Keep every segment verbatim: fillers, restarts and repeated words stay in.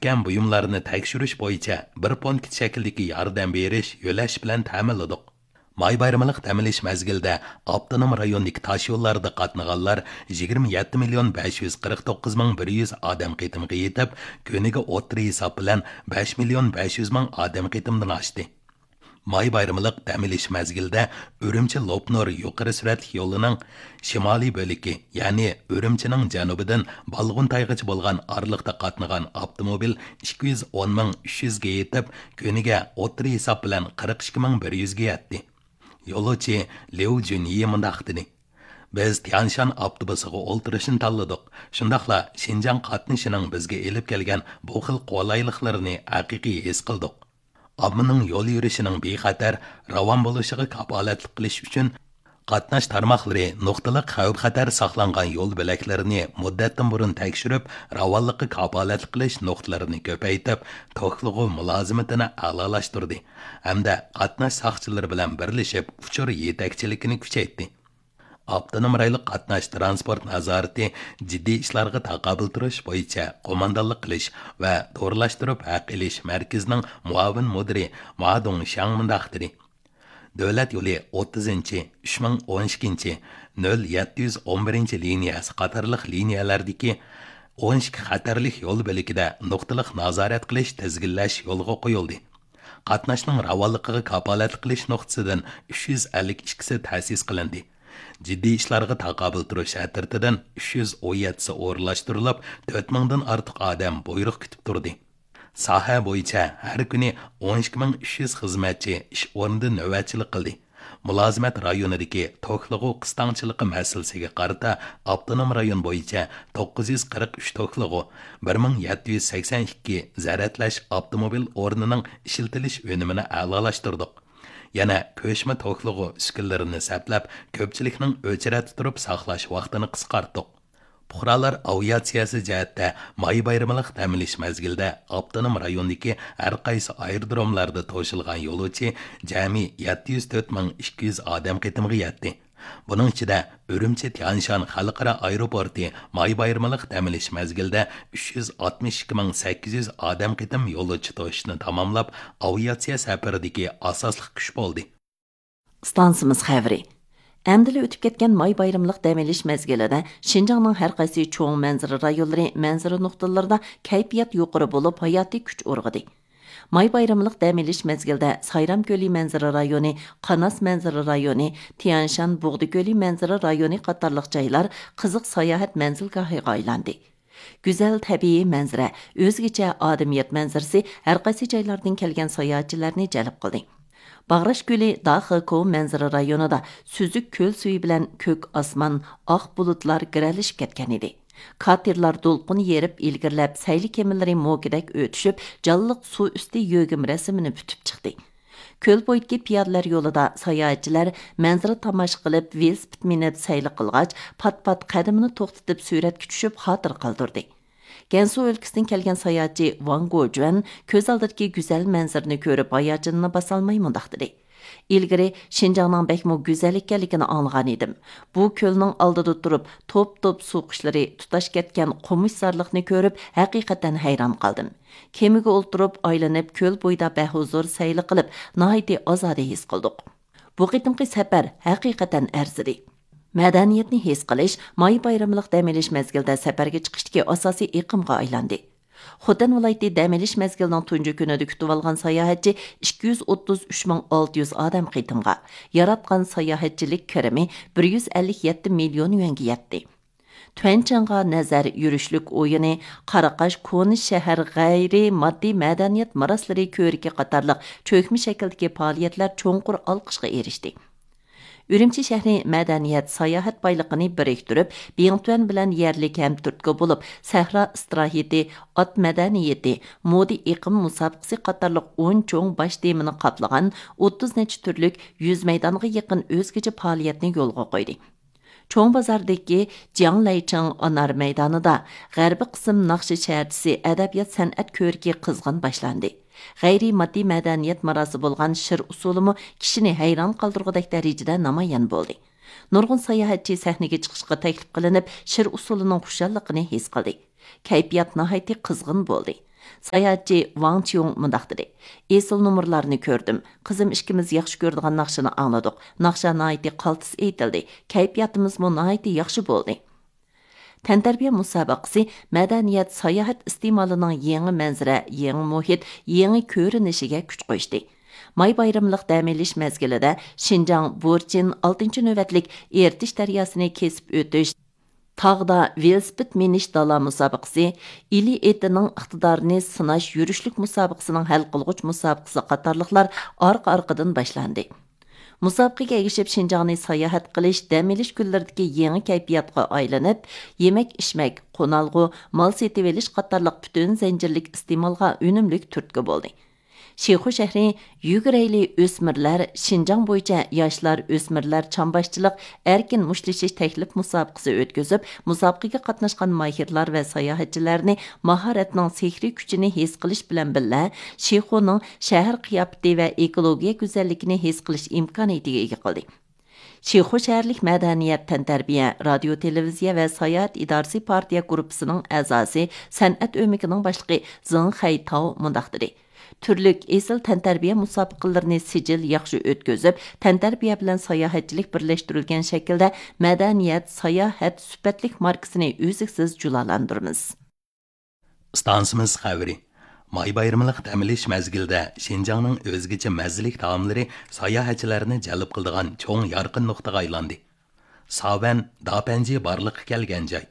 كەم بۇيۇملارنى تەكشۈرۈش بويىچە بىر پونكىت شەكلىدىكى ياردەم بېرىش يۆلەش بىلەن تەمىنلىدۇق. ماي بايرىملىق دەم ئېلىش مەزگىلىدە ئاپتونوم رايوندىكى تاشيوللاردا قاتنىغانلار يىگىرمە يەتتە مىليون بەش يۈز قىرىق توققۇز مىڭ بىر يۈز ئادەم قېتىمغا يېتىپ، كۈنىگە ئوتتۇرا ھېساب بىلەن بەش مىليون بەش يۈز مىڭ ئادەم قېتىمدىن ئاشتى. ماي بايرىملىق دەم ئېلىش مەزگىلىدە ئۈرۈمچى لوپنۇر يۇقىرى سۈرئەتلىك يولىنىڭ شىمالىي بۆلىكى، يەنى ئۈرۈمچىنىڭ جەنۇبىدىن بالغۇنتايغىچە بولغان ئارىلىقتا قاتنىغان ئاپتوموبىل ئىككى يۈز ئون مىڭ ئۈچ يۈزگە يېتىپ، كۈنىگە ئوتتۇرا ھېساب بىلەن قىرىق ئىككى مىڭ بىر يۈزگە يەتتى. يولۇچى ليۇ جۈنيى مۇنداق دېدى: بىز تيانشان ئاپتوبۇسىغا ئولتۇرۇشنى تاللىدۇق، شۇنداقلا شىنجاڭ قاتنىشىنىڭ بىزگە ئېلىپ كەلگەن بۇ خىل قولايلىقلىرىنى ھەقىقىي ھېس قىلدۇق. ئاممىنىڭ يول يۈرۈشىنىڭ بىخەتەر، راۋان بولۇشىغا كاپالەتلىك قىلىش ئۈچۈن، قاتناش تارماقلىرى نۇقتىلىق خەۋپ-خەتەر ساقلانغان يول بۆلەكلىرىنى مۇددەتتىن بۇرۇن تەكشۈرۈپ، راۋانلىققا كاپالەتلىك قىلىش نۇقتىلىرىنى كۆپەيتىپ، توكلىغۇ مۇلازىمىتىنى ئەلالاشتۇردى ھەمدە قاتناش ساقچىلىرى بىلەن بىرلىشىپ ئۇچۇر يېتەكچىلىكىنى كۈچەيتتى. ئاپتونوم رايونلۇق قاتناش تىرانسپورت نازارىتى جىددىي ئىشلارغا تاقابىل تۇرۇش بويىچە قوماندانلىق قىلىش ۋە تورلاشتۇرۇپ ھەق ئېلىش مەركىزىنىڭ مۇئاۋىن مۇدىرى ما دۇڭشياڭ مۇنداق دېدى: دۆلەت يولى ئوتتۇزىنچى، ئۈچ مىڭ ئون ئىككىنچى، نۆل يەتتە يۈز ئون بىرىنچى لىنىيەسى قاتارلىق لىنىيەلەردىكى ئون ئىككى خەتەرلىك يول بۆلىكىدە نۇقتىلىق نازارەت قىلىش، تىزگىنلەش يولغا قويۇلدى. قاتناشنىڭ راۋانلىقىغا كاپالەتلىك قىلىش نۇقتىسىدىن ئۈچ يۈز ئەللىك ئىككىسى تەسىس قىلىندى. جىددىي ئىشلارغا تاقابىل تۇرۇش ئەترىتىدىن ئۈچ يۈز ئون يەتتىسى ئورۇنلاشتۇرۇلۇپ، تۆت مىڭدىن ئارتۇق ئادەم بۇيرۇق كۈتۈپ تۇردى. ساھە بويىچە ھەر كۈنى ئون ئىككى مىڭ ئۈچ يۈز خىزمەتچى ئىش ئورنىدا نۆۋەتچىلىك قىلدى. مۇلازىمەت رايونىدىكى توكلىغۇ قىستاڭچىلىقى مەسىلىسىگە قارىتا، ئاپتونوم رايون بويىچە توققۇز يۈز قىرىق ئۈچ توكلىغۇ، بىر مىڭ يەتتە يۈز سەكسەن ئىككى زەرەتلەش ئاپتوموبىل ئورنىنىڭ ئىشلىتىلىش ئۈنۈمىنى ئەلالاشتۇردۇق. يەنە كۆچمە توكلىغۇ ئۈسكۈنىلىرىنى سەپلەپ، كۆپچىلىكنىڭ ئۆچرەتتە تۇرۇپ ساقلاش ۋاقتىنى قىسقارتتۇق. پۇقرالار ئاۋىئاتسىيەسى جەھەتتە ماي بايرىملىق دەم ئېلىش مەزگىلىدە ئاپتونوم رايوندىكى ھەر قايسى ئايرودروملاردا توشۇلغان يولۇچى جەمئىي يەتتە يۈز تۆت مىڭ ئىككى يۈز ئادەم قېتىمىغا يەتتى. بۇنىڭ ئىچىدە ئۈرۈمچى تيەنشان خەلقئارا ئايروپورتى ماي بايرىملىق دەم ئېلىش مەزگىلىدە ئۈچ يۈز ئاتمىش ئىككى مىڭ سەككىز يۈز ئادەم قېتىم يولۇچى توشۇشنى تاماملاپ، ئاۋىئاتسىيە سەپىرىدىكى ئاساسلىق كۈچ بولدى. ئىستانسىمىز خەۋىرى. ئەمدىلا ئۆتۈپ كەتكەن ماي بايرىملىق دەم ئېلىش مەزگىلىدە شىنجاڭنىڭ ھەر قايسى چوڭ مەنزىرە رايونلىرى مەنزىرە نۇقتىلىرىدا كەيپىيات يۇقىرى بولۇپ، ھاياتىي كۈچ ئۇرغۇدى. ماي بايرىملىق دەم ئېلىش مەزگىلىدە سايرام كۆلى مەنزىرە رايونى، قاناس مەنزىرە رايونى، تيەنشان بۇغدا كۆلى مەنزىرە رايونى قاتارلىق جايلار قىزىق ساياھەت مەنزىلگاھىغا ئايلاندى. گۈزەل تەبىئىي مەنزىرە، ئۆزگىچە ئادەمىيەت مەنزىرىسى ھەر قايسى جايلاردىن كەلگەن ساياھەتچىلەرنى جەلپ قىلدى. باغراش كۆلى داخېكو مەنزىرە رايونىدا سۈزۈك كۆل سۈيى بىلەن كۆك ئاسمان، ئاق بۇلۇتلار گىرەلىشىپ كەتكەن ئىدى. كاتېرلار دولقۇن يېرىپ ئىلگىرىلەپ، سەيلە كېمىلىرى موكىدەك ئۆتۈشۈپ، جانلىق سۇ ئۈستى يۆگىمە رەسىمىنى پۈتۈپ چىقتى. كۆل بويىدىكى پىيادىلەر يولىدا ساياھەتچىلەر مەنزىرە تاماشا قىلىپ، ۋېلىسىپىت مىنىپ سەيلە قىلغاچ، پات-پات قەدىمىنى توختىتىپ سۈرەتكە چۈشۈپ خاتىرە قالدۇردى. گەنسۇ ئۆلكىسىدىن كەلگەن ساياھەتچى ۋاڭ گوجۈەن كۆز ئالدىدىكى گۈزەل مەنزىرىنى كۆرۈپ ھاياجىنىنى باسالماي مۇنداق دېدى: ئىلگىرى شىنجاڭنىڭ بەكمۇ گۈزەل ئىكەنلىكىنى ئاڭلىغان ئىدىم. بۇ كۆلنىڭ ئالدىدا تۇرۇپ توپ-توپ سۇ قۇشلىرى تۇتاش كەتكەن قومۇشزارلىقنى كۆرۈپ ھەقىقەتەن ھەيران قالدىم. كېمىگە ئولتۇرۇپ ئايلىنىپ كۆل بويىدا بەھۇزۇر سەيلە قىلىپ ناھايىتى ئازادە ھېس قىلدۇق. بۇ قېتىمقى سەپەر ھەقىقەتەن ئەرزىدى. مەدەنىيەتنى ھېس قىلىش ماي بايرىملىق دەم ئېلىش مەزگىلىدە سەپەرگە چىقىشتىكى ئاساسىي ئېقىمغا ئايلاندى. خوتەن ۋىلايىتى دەم ئېلىش مەزگىلىنىڭ تۇنجى كۈنىدە كۈتۈۋالغان ساياھەتچى ئىككى يۈز ئوتتۇز ئۈچ مىڭ ئالتە يۈز ئادەم قېتىمغا، ياراتقان ساياھەتچىلىك كىرىمى بىر يۈز ئەللىك يەتتە مىليون يۈەنگە يەتتى. تۈەنچىڭغا نەزەر يۈرۈشلۈك ئويۇنى، قاراقاش كونا شەھەر غەيرىي ماددىي مەدەنىيەت مىراسلىرى كۆرىكى قاتارلىق چۆكمە شەكىلدىكى پائالىيەتلەر چوڭقۇر ئالقىشقا ئېرىشتى. ئۈرۈمچى شەھىرى مەدەنىيەت، ساياھەت بايلىقىنى بىرىكتۈرۈپ، بىڭتۈەن بىلەن يەرلىك ھەم تۈرتكە بولۇپ، سەھرا ئىستىراھىتى، ئات مەدەنىيىتى، مودا ئېقىم مۇسابىقىسى قاتارلىق ئون چوڭ باش تېمىنى قاپلىغان ئوتتۇز نەچچە تۈرلۈك يۈز مەيدانغا يېقىن ئۆزگىچە پائالىيەتنى يولغا قويدى. چوڭ بازاردىكى جياڭ لەيچىڭ ئانار مەيدانىدا غەربىي قىسىم ناخشا شەھەرچىسى ئەدەبىيات سەنئەت كۆرىكى قىزغىن باشلاندى. غەيرىي ماددىي مەدەنىيەت ماراسى بولغان شىر ئۇسسۇلىمۇ كىشىنى ھەيران قالدۇرغۇدەك دەرىجىدە نامايان بولدى. نۇرغۇن ساياھەتچى سەھنىگە چىقىشقا تەكلىپ قىلىنىپ، شىر ئۇسسۇلىنىڭ خۇشاللىقىنى ھېس قىلدى. كەيپىيات ناھايىتى قىزغىن بولدى. ساياھەتچى ۋاڭ چيۇڭ مۇنداق دېدى: ئېسىل نومۇرلارنى كۆردۈم. قىزىم ئىككىمىز ياخشى كۆرىدىغان ناخشىنى ئاڭلىدۇق. ناخشا ناھايىتى قالتىس ئېيتىلدى. كەيپىياتىمىزمۇ ناھايىتى ياخشى بولدى. تەنتەربىيە مۇسابىقىسى مەدەنىيەت، ساياھەت ئىستېمالىنىڭ يېڭى مەنزىرە، يېڭى مۇھىت، يېڭى كۆرۈنۈشىگە كۈچ قوشتى. ماي بايرىملىق دەم ئېلىش مەزگىلىدە شىنجاڭ بۇرچىن ئالتىنچى نۆۋەتلىك ئېرتىش دەرياسىنى كېسىپ ئۆتۈش، تاغدا ۋېلىسىپىت مىنىش دالا مۇسابىقىسى، ئىلى ئېتىنىڭ ئىقتىدارىنى سىناش يۈرۈشلۈك مۇسابىقىسىنىڭ ھەل قىلغۇچ مۇسابىقىسى قاتارلىقلار ئارقا-ئارقىدىن باشلاندى. مۇسابىقىگە ئەگىشىپ، شىنجاڭنى ساياھەت قىلىش، دەم ئېلىش كۈنلىرىدىكى يېڭى كەيپىياتقا ئايلىنىپ، يېمەك-ئىچمەك، قونالغۇ، مال سېتىۋېلىش قاتارلىق پۈتۈن زەنجىرلىك ئىستېمالغا ئۈنۈملۈك تۈرتكە بولدى. شىخۇ شەھىرى يۈگۈرەيلى ئۆسمۈرلەر شىنجاڭ بويىچە ياشلار، ئۆسمۈرلەر چامباشچىلىق ئەركىن مۇشتلىشىش تەكلىپ مۇسابىقىسى ئۆتكۈزۈپ، مۇسابىقىگە قاتناشقان ماھىرلار ۋە ساياھەتچىلەرنى ماھارەتنىڭ سېھرىي كۈچىنى ھېس قىلىش بىلەن بىللە، شىخۇنىڭ شەھەر قىياپىتى ۋە ئېكولوگىيە گۈزەللىكىنى ھېس قىلىش ئىمكانىيىتىگە ئىگە قىلدى. شىخۇ شەھەرلىك مەدەنىيەت، تەنتەربىيە، رادىيو، تېلېۋىزىيە ۋە ساياھەت ئىدارىسى پارتىيە گۇرۇپپىسىنىڭ ئەزاسى، سەنئەت ئۆمىكىنىڭ باشلىقى زېڭ خەيتاۋ مۇنداق دېدى: تۈرلۈك ئېسىل تەنتەربىيە مۇسابىقىلىرىنى سىجىل ياخشى ئۆتكۈزۈپ، تەنتەربىيە بىلەن ساياھەتچىلىك بىرلەشتۈرۈلگەن شەكىلدە مەدەنىيەت، ساياھەت سۈپەتلىك ماركىسىنى ئۈزلۈكسىز جۇلالاندۇرىمىز. ئىستانسىمىز خەۋىرى. ماي بايرىملىق دەم ئېلىش مەزگىلىدە شىنجاڭنىڭ ئۆزگىچە مەززىلىك تائاملىرى ساياھەتچىلەرنى جەلپ قىلىدىغان چوڭ يارقىن نۇقتىغا ئايلاندى. ساۋەن، داپەنجى بارلىققا كەلگەن جاي.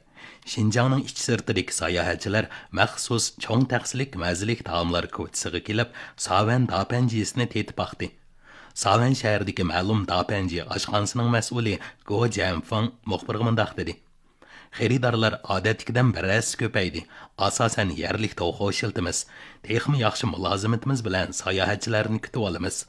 شىنجاڭنىڭ ئىچ سىرتىدىكى ساياھەتچىلەر مەخسۇس چوڭ تەخسىلىك مەززىلىك تائاملار كوچىسىغا كېلىپ، ساۋەن داپەنجىسىنى تېتىپ باقتى. ساۋەن شەھىرىدىكى مەلۇم داپەنجى ئاشخانىسىنىڭ مەسئۇلى گو جيەنفېڭ مۇخبىرغا مۇنداق دېدى: خېرىدارلار ئادەتتىكىدىن بىر ھەسسە كۆپەيدى. ئاساسەن يەرلىك توخۇ ئىشلىتىمىز. تېخىمۇ ياخشى مۇلازىمىتىمىز بىلەن ساياھەتچىلەرنى كۈتۈۋالىمىز.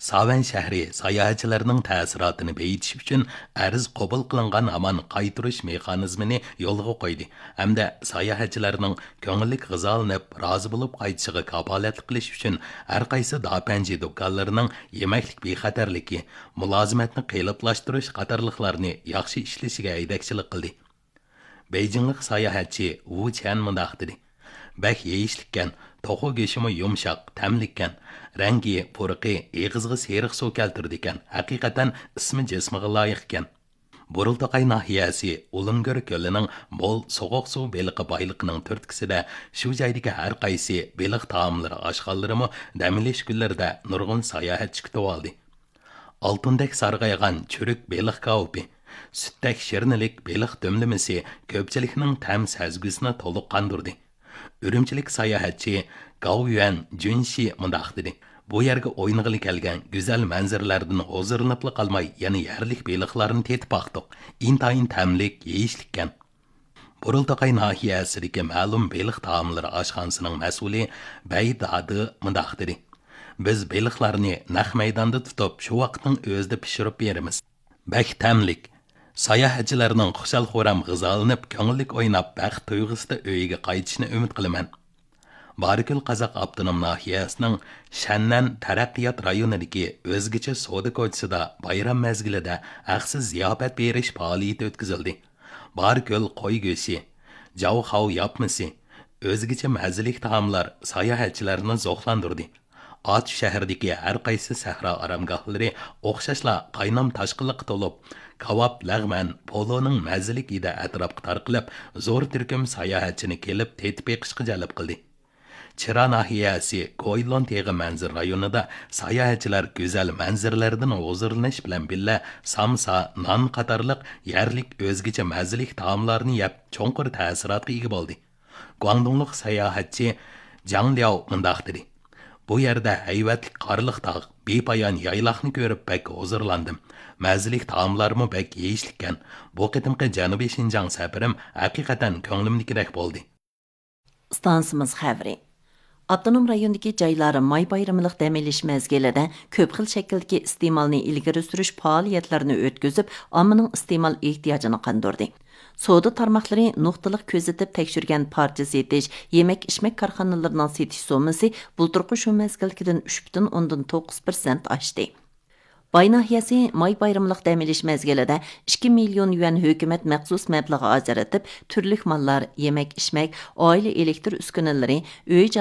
ساۋەن شەھىرى ساياھەتچىلەرنىڭ تەسىراتىنى بېيىتىش ئۈچۈن ئەرز قوبۇل قىلىنغان ھامان قايتۇرۇش مېخانىزمىنى يولغا قويدى ھەمدە ساياھەتچىلەرنىڭ كۆڭۈللۈك غىزالىنىپ، رازى بولۇپ قايتىشىغا كاپالەتلىك قىلىش ئۈچۈن ھەر قايسى داپەنجى دۇكانلىرىنىڭ يېمەكلىك بىخەتەرلىكى، مۇلازىمەتنى قېلىپلاشتۇرۇش قاتارلىقلارنى ياخشى ئىشلىشىگە ھەيدەكچىلىك قىلدى. بېيجىڭلىق ساياھەتچى ۋۇ چيەن مۇنداق دېدى: بەك يېيىشلىككەن، توخۇ گۆشىمۇ يۇمشاق، تەملىككەن. رەڭگى، پۇرىقى ئېغىزغا سېرىق سۇ كەلتۈرىدىكەن، ھەقىقەتەن ئىسمى جىسمىغا لايىقكەن. بۇرۇلتاقاي ناھىيەسى ئۇلۇڭگۆر كۆلىنىڭ مول سوغۇق سۇ بېلىقى بايلىقىنىڭ تۈرتكىسىدە شۇ جايدىكى ھەر قايسى بېلىق تائاملىرى ئاشخانىلىرىمۇ دەم ئېلىش كۈنلىرىدە نۇرغۇن ساياھەتچى كۈتۈۋالدى. ئالتۇندەك سارغايغان چۈرۈك بېلىق كاۋىپى، سۈتتەك شىرنىلىك بېلىق دۈملىمىسى كۆپچىلىكنىڭ تەم سەزگۈسىنى تولۇق قاندۇردى. ئۈرۈمچىلىك ساياھەتچى گاۋيۈەن جۈنشى مۇنداق دېدى: بۇ يەرگە ئوينىغىلى كەلگەن گۈزەل مەنزىرىلەردىن ھۇزۇرلىنىپلا قالماي، يەنە يەرلىك بېلىقلارنى تېتىپ باقتۇق. ئىنتايىن تەملىك، يېيىشلىككەن. بۇرۇلتاقاي ناھىيەسىدىكى مەلۇم بېلىق تائاملىرى ئاشخانىسىنىڭ مەسئۇلى بەي دادى مۇنداق دېدى: بىز بېلىقلارنى نەق مەيداندا تۇتۇپ، شۇ ۋاقىتنىڭ ئۆزىدە پىشۇرۇپ بېرىمىز. بەك تەملىك. ساياھەتچىلەرنىڭ خۇشال-خۇرام غىزالىنىپ، كۆڭۈللۈك ئويناپ، بەخت تۇيغۇسىدا ئۆيىگە قايتىشىنى ئۈمىد قىلىمەن. بارىكۆل قازاق ئاپتونوم ناھىيەسىنىڭ شەننەن تەرەققىيات رايونىدىكى ئۆزگىچە سودا كوچىسىدا بايرام مەزگىلىدە ھەقسىز زىياپەت بېرىش پائالىيىتى ئۆتكۈزۈلدى. بارىكۆل قوي گۆشى، جاۋخاۋ ياپمىسى، ئۆزگىچە مەززىلىك تائاملار ساياھەتچىلەرنى زوقلاندۇردى. ئاتۇش شەھىرىدىكى ھەر قايسى سەھرا ئارامگاھلىرى ئوخشاشلا قاينام تاشقىنلىققا تولۇپ، كاۋاپ، لەغمەن، پولۇنىڭ مەززىلىك ھىدى ئەتراپقا تارقىلىپ، زور تۈركۈم ساياھەتچىنى كېلىپ تېتىپ بېقىشقا جەلپ قىلدى. چىرا ناھىيەسى گويلون تېغى مەنزىرە رايونىدا ساياھەتچىلەر گۈزەل مەنزىرىلەردىن ھۇزۇرلىنىش بىلەن بىللە، سامسا، نان قاتارلىق يەرلىك ئۆزگىچە مەززىلىك تائاملارنى يەپ، چوڭقۇر تەسىراتقا ئىگە بولدى. گۇاڭدۇڭلۇق ساياھەتچى جاڭ لياۋ مۇنداق دېدى: بۇ يەردە ھەيۋەتلىك قارلىق تاغ، بىپايان يايلاقنى كۆرۈپ بەك ھۇزۇرلاندىم. مەززىلىك تائاملارمۇ بەك يېيىشلىككەن. بۇ قېتىمقى جەنۇبىي شىنجاڭ سەپىرىم ھەقىقەتەن كۆڭلۈمدىكىدەك بولدى. ئىستانسىمىز خەۋىرى. ئاپتونوم رايوندىكى جايلار ماي بايرىملىق دەم ئېلىش مەزگىلىدە كۆپ خىل شەكىلدىكى ئىستېمالنى ئىلگىرى سۈرۈش پائالىيەتلىرىنى ئۆتكۈزۈپ، ئاممىنىڭ ئىستېمال ئېھتىياجىنى قاندۇردى. سودا تارماقلىرى نۇقتىلىق كۆزىتىپ تەكشۈرگەن پارچە سېتىش، يېمەك-ئىچمەك كارخانىلىرىنىڭ سېتىش سوممىسى بۇلتۇرقى شۇ مەزگىلدىكىدىن ئۈچ پۈتۈن ئوندىن توققۇز پىرسەنت ئاشتى. باي ناھىيەسى ماي بايرىملىق دەم ئېلىش مەزگىلىدە ئىككى مىليون يۈەن ھۆكۈمەت مەخسۇس مەبلىغى ئاجرىتىپ، تۈرلۈك ماللار، يېمەك-ئىچمەك، ئائىلە ئېلېكتر ئۈسكۈنىلىرى، ئۆي